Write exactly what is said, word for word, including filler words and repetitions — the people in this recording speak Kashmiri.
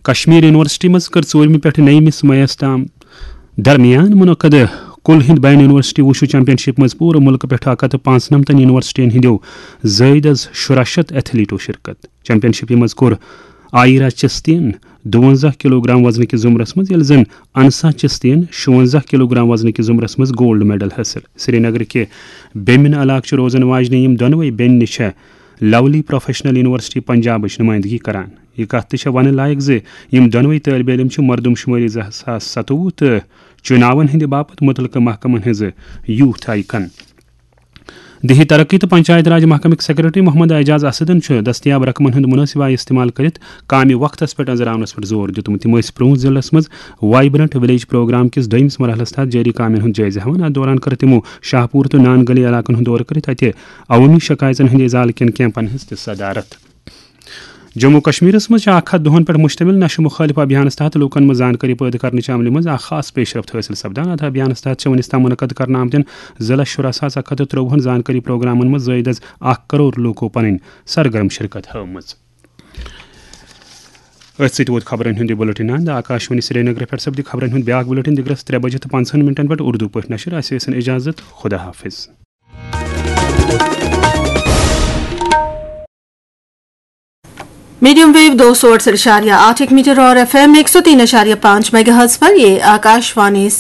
کشمیر یونیورسٹی منٛز کٔر ژوٗرمہِ پٮ۪ٹھٕ نٔیمِس میَس تام درمیان منعقد کُل ہند بین یونیورسٹی وُشو چیمپین شپ منٛز پوٗرٕ مُلکہٕ پٮ۪ٹھٕ اکھ ہتھ تہٕ پانٛژنمتن یونیورسٹین ہٕنٛدیو زٲیدٕ از شُراہ شتھ ایتھلیٹو شرکت۔ چیمپین شپہِ منٛز کوٚر آیرا چستین دُونزہ کلوگرام وزنہٕ کِس زمرس منٛز، ییٚلہِ زن انسا چستین شُونزہ کلوگرام وزنہٕ کِس زمرس منٛز گولڈ میڈل حٲصِل۔ سرینگرٕ کہِ بیمِن علاقہٕ چھِ روزن واجنہِ یِم دۄنوے بیٚنہِ چھےٚ لولی پروفیشنل یونیورسٹی پنجابٕچ نمائندگی کران۔ یہِ کتھ تہِ چھےٚ وننہٕ لایق زِ یِم دۄنوے طٲلبہِ علم چھِ مردم شمٲری زٕ ساس ستوُہ تہٕ چُناون ہٕنٛدِ باپتھ مُتعلقہٕ محکمن ہٕنٛزٕ یوتھ آیکن۔ دیہی ترقی تہٕ پنچایت راج محکمٕکۍ سیکرٹری محمد اعجاز اسدن چھُ دستیاب رقمن ہُنٛد مناسب آیہِ استعمال کٔرِتھ کامہِ وقتس پٮ۪ٹھ أنٛزراونس پٮ۪ٹھ زور دیُتمُت۔ تِم ٲسۍ پرٛون ضلعس منٛز وائبرنٹ ولیج پروگرام کِس دوٚیمِس مرحلس تحت جٲری کامٮ۪ن ہُنٛد جٲیزٕ ہٮ۪وان۔ اتھ دوران کٔر تِمو شاہ پوٗر تہٕ نان گلی علاقن ہُنٛد دورٕ کٔرِتھ اتہِ عوٲمی شکایژن ہٕنٛدِ ازالہٕ کٮ۪ن کیمپن ہٕنٛز تہِ صدارت۔ جموں کشمیرس منٛز چھِ اکھ ہتھ دۄہن پٮ۪ٹھ مشتمل نشہٕ مخالف ابھیانس تحت لوٗکن منٛز زانکٲری پٲدٕ کرنہٕ چہِ عملہِ منٛز اکھ خاص پیشرفت حٲصِل سپدان۔ اتھ ابھیانس تحت چھِ وُنیُس تام منعقد کرنہٕ آمتٮ۪ن ضلع شُراہ ساس اکھ ہتھ تہٕ ترٛۆوُہن زانکٲری پروگرامن منٛز زٲیدٕ از اکھ کرور لوٗکو پنٕنۍ سرگرم شرکت ہٲومٕژ۔ أتھۍ سۭتۍ ووت خبرن ہُنٛد یہِ بُلٹن اند۔ آکاشوانی سرینگر پٮ۪ٹھ سپدِ خبرن ہُنٛد بیٛاکھ بُلٹن دِگرس ترٛےٚ بجہِ تہٕ پنٛژہن مِنٹن پٮ۪ٹھ اردو پٲٹھۍ نشر۔ اسہِ ٲسِن اجازت، خدا حافظ۔ میڈیم ویو دو سو اڑسٹھ اشاریہ آٹھ ایک میٹر اور ایف ایم ایک سو تین اشاریہ پانچ میگا ہرٹز پر، یہ آکاشوانی